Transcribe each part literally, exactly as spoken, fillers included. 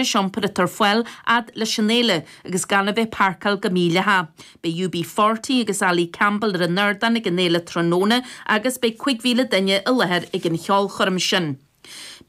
iompair atá ar fáil fhad leis an fhéile agus gan a bheith páirceáil go mídhleathach. Beidh U B forty agus Ali Campbell ar an ardán ag an fhéile tráthnóna agus beidh cúig mhíle duine i láthair ag an cheolchoirm sin.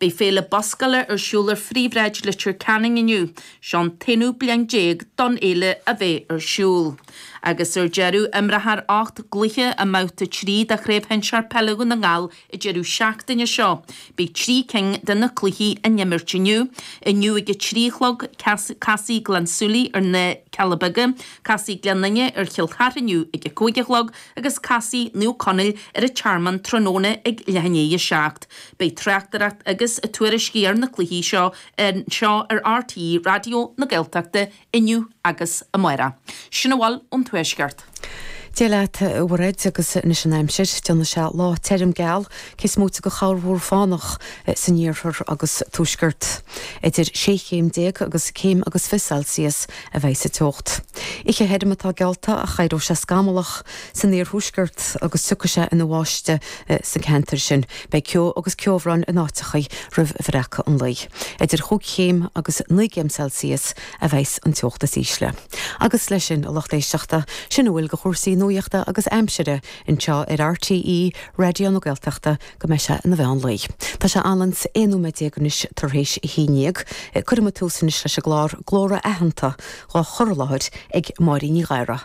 Beidh féile buscála ar siúl ar phríomhshráid Leitir Ceanainn inniu. Seo an t-aonú bliain déag don fhéile a bheith ar siúl. Agus ar deireadh, imreofar ocht gcluiche i mbabhta trí de Chraobh Shinsear Peile Dhún na nGall an deireadh seachtaine seo. Beidh trí cinn de na cluichí á n-imirt inniu. Inniu ag a trí a chlog, casfaidh Gleann tSúilí ar na Cealla Beaga, casfaidh Gleann Fhinne ar Chill Chartha inniu ag a cúig a chlog agus casfaidh Naomh Conaill ar an Tearmann tráthnóna ag leath i ndiaidh a seacht. Beidh tráchtaireacht agus tuairiscí ar na cluichí seo anseo ar R T E Raidió na Gaeltachta inniu agus amárach. Sin a bhfuil ón Tuaisceart. Dia leat, a Mhairéad, agus anois an aimsir. Déanfaidh sé lá tirim geal, cé is móite de chorrmhúr fánach san iarthar agus tuaisceart. Idir sé chéim déag agus céim agus fiche Celsius a bheidh sa teocht. Oíche thirim atá geallta ach éireoidh sé scamallach san iarthuaisceart agus tiocfaidh sé ina bháisteach sa cheantar sin. Beidh ceo agus ceobhrán in áiteacha roimh bhreacadh an lae. Idir chúig chéim agus naoi gcéim Celsius a bheidh an teocht is ísle. Agus leis sin, a lucht éisteachta, sin a bhfuil de chúrsaí nuachta agus aimsire anseo ar R T E Raidió na Gaeltachta go mbeidh sé ina mheán lae. Tá sé anlann aon nóiméad déag anois tar éis a haon déag. Cuirfidh muid tús anois leis an gclár Glór Aitheanta dhá chur i láthair ag Máirín Ní Ghadhra.